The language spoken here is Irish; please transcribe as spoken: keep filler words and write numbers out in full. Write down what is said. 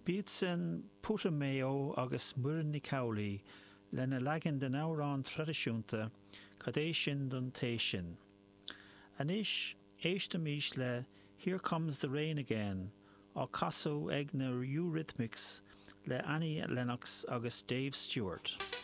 B'iad sin Putumayo agus Muireann Nic Amhlaoibh lena leagan den amhrán traidisiúnta Cad é sin don té sin. Anois éistimis le Here Comes the Rain Again á casadh ag na Eurythmics le Annie Lennox agus Dave Stewart.